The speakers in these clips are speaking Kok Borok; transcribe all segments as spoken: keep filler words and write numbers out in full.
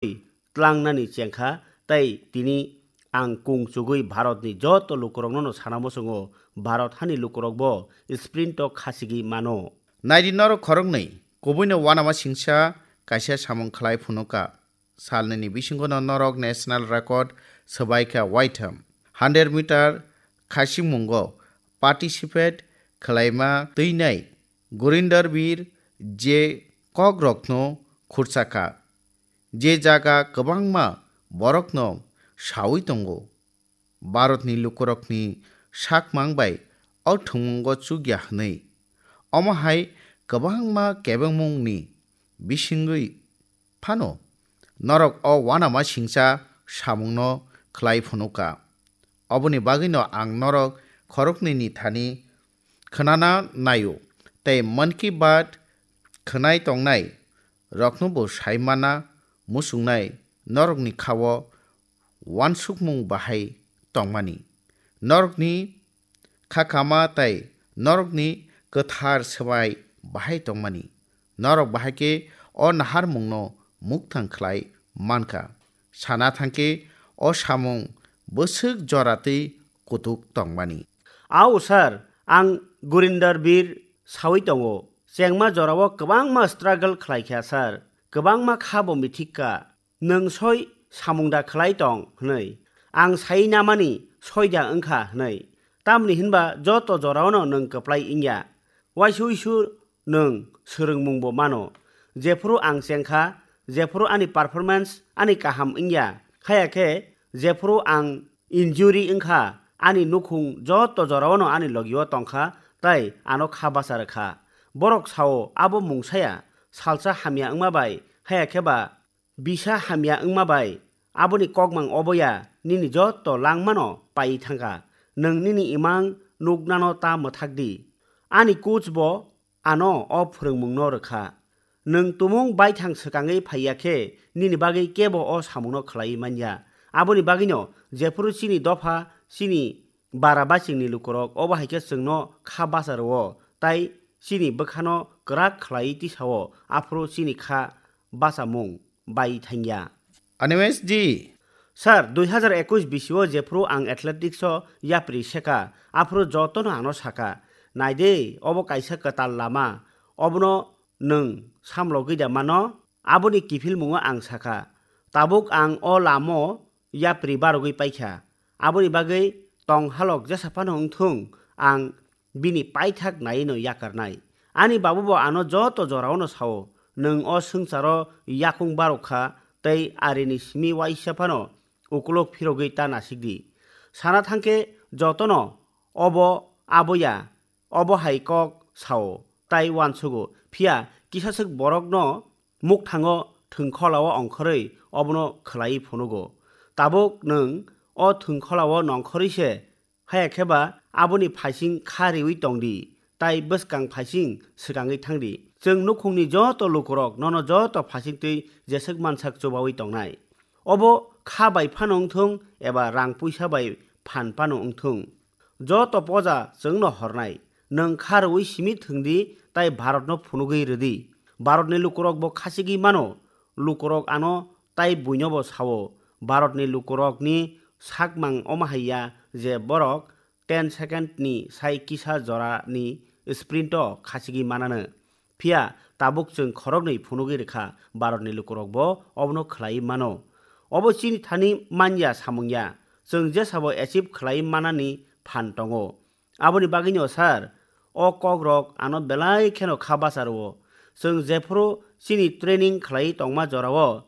tlangnani chengkha, tei tini ang kung chugwi Bharatni joto lukurokno no sana muchungo, Bharat hani lukurokbo sprint o khachigwi mano. Naidi norok khoroknwi, kubuino uanama singsa kaisa samung khlai phunuka. Salnini bisingono norok national record swbaikha waitham. Hundred meter khachingmungo participate khlaima twinai Gurinder Bir je kokrokno khurchakha. Je jaga kwbangma borokno saui tongo. Bharatni lukurokni sakmang bai o thwngmungo chukya hwnwi. Omo hai kwbangma kebengmungni bisingwi phano norok o uanama singcha samungno khlai phunuka. Oboni bagwino ang norok khoroknwini thani khwnana naio tei Mann Ki Baat khwnai tongnai roknobo sai mana muchungnai norokni khao uansukmung bahai tongmani. Norokni kha kama tei norokni kwthar swbai bahai tongmani. Norok bahai khe o naharmungno mukthang khlai mankha. Sana thangkhe o samung bwswk jora twi kutuk tongmani. Ao sir, ang Gurinder Bir saui tongo. Chengma jorao kwbangma struggle khlai kha sir. Kwbangma kha bo mithik kha. Nwng soi samung da khlai tong hwnwi. Ang sai namani soi da wngkha hwnwi. Tamni hinba joto joraono nwng kwplai wngya. Waisa uisu nwng swrwngmungbo mano. Jephuru ang chengkha, jephuru ani performance ani kaham wngya, haya khe jephuru ang injury wngkha, ani nukhung joto joraono ani logio tongkha, tei ano kha bacha rwkha. Borok sao, abo mungsaya, salsa hamya wngma bai, haya khe ba bisa hamya wngma bai, aboni kokmang oboya nini joto langmano paiwi thangkha. Nwng nini imang nuknano ta mwthak di. Ani coach bo ano o phwrwngmungno rwkha. Nwng tumung baithang swkangwi phaiya khe nini bagwi kebo o samungno khlaiwi manya. Aboni bagwino jephuru chini dopha, chini bara bachingni lukurok obo hai khe chwngno kha bacha rwo, tai chini bwkhano kwrak khlaiwi tisao, aphuru chini kha bachamung bai thangya. Animesh ji. Sir, dui hazar ekush bisio jephuru ang athletics o yapri seka, aphuru jotono ano saka, "Nai de, obo kaisa kwtal lama, obono nwng samlogwi da mano?" Aboni kiphilmungo ang saka, "Tabuk ang o lamo yapri barogwi paikha, aboni bagwi tong halok jesa phano wngthung, ang bini paithak naiwi no yakarnai." Ani babu bo ano joto joraono sao, "Nwng o swngcharo yakung barok kha tei arini simi waisa phano ukulok phirogwi ta nasikdi." Sana thangkhe jotono obo aboya, obo hai kok sao, tai uansugo, phiya kisaswk borokno mukthango thwngkholao ongkhorwi obono khlaiwi phunugo. Tabuk nwng o thwngkholao nongkhorwi se, haya khe ba aboni phaising kha riwi tong di, tai bwskang phaising swkangwi thang di. Chwng nukhungni joto lukurok nono joto phaising twi jeswk mansak chubawi tongnai. Obo kha bai phano wngthung eba rang puisa bai phan phano wngthung, joto poja chwngno hornai. Nwng kha rwui simi thwng di, tai Bharatno phunugwi rw di. Bharatni lukurok bo khachigwi mano. Lukurok ano tai buino bo sao. Bharatni lukurokni sakmang omo hai ya je borok ten second ni sai kisa jora ni sprint o khachigwi manano. Phiya tabuk chwng khoroknwi phunugwi rwkha, Bharatni lukurok bo obono khlaiwi mano. Obo chini thani manya samung ya, chwng jesabo achieve khlaiwi manani phan tongo. Aboni bagwino sir, o kokrok ano belai kheno kha bacha rwo. Chwng jephuru chini training khlaiwi tongma jorao,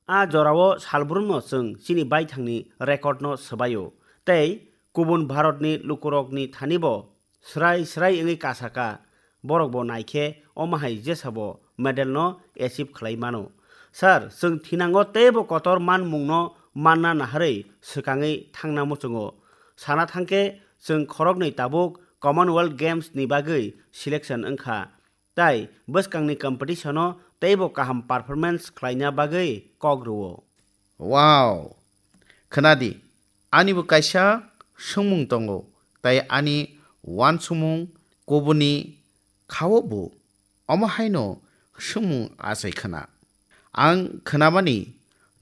a jorao salbrumno chwng chini baithangni record no swbaio, tei kubun Bharatni lukurokni thani bo srai srai wngwi kasaka, borok bo naikhe omo hai jesabo medal no achieve khlai mano. Sir, chwng thinango teibo kotor manmungno manna naharwi swkangwi thangna muchungo. Sana thangkhe chwng khoroknwi tabuk Commonwealth Games ni bagwi selection wngkha. Tai bwskangni competition-o teibo kaham performance khlaina bagwi kok rwo. Wow! Khwnadi, anibo kaisa swngmung tongo, tai ani uansukmung kubuni khao bo omo haino swngmung achai khna. Ang khnamani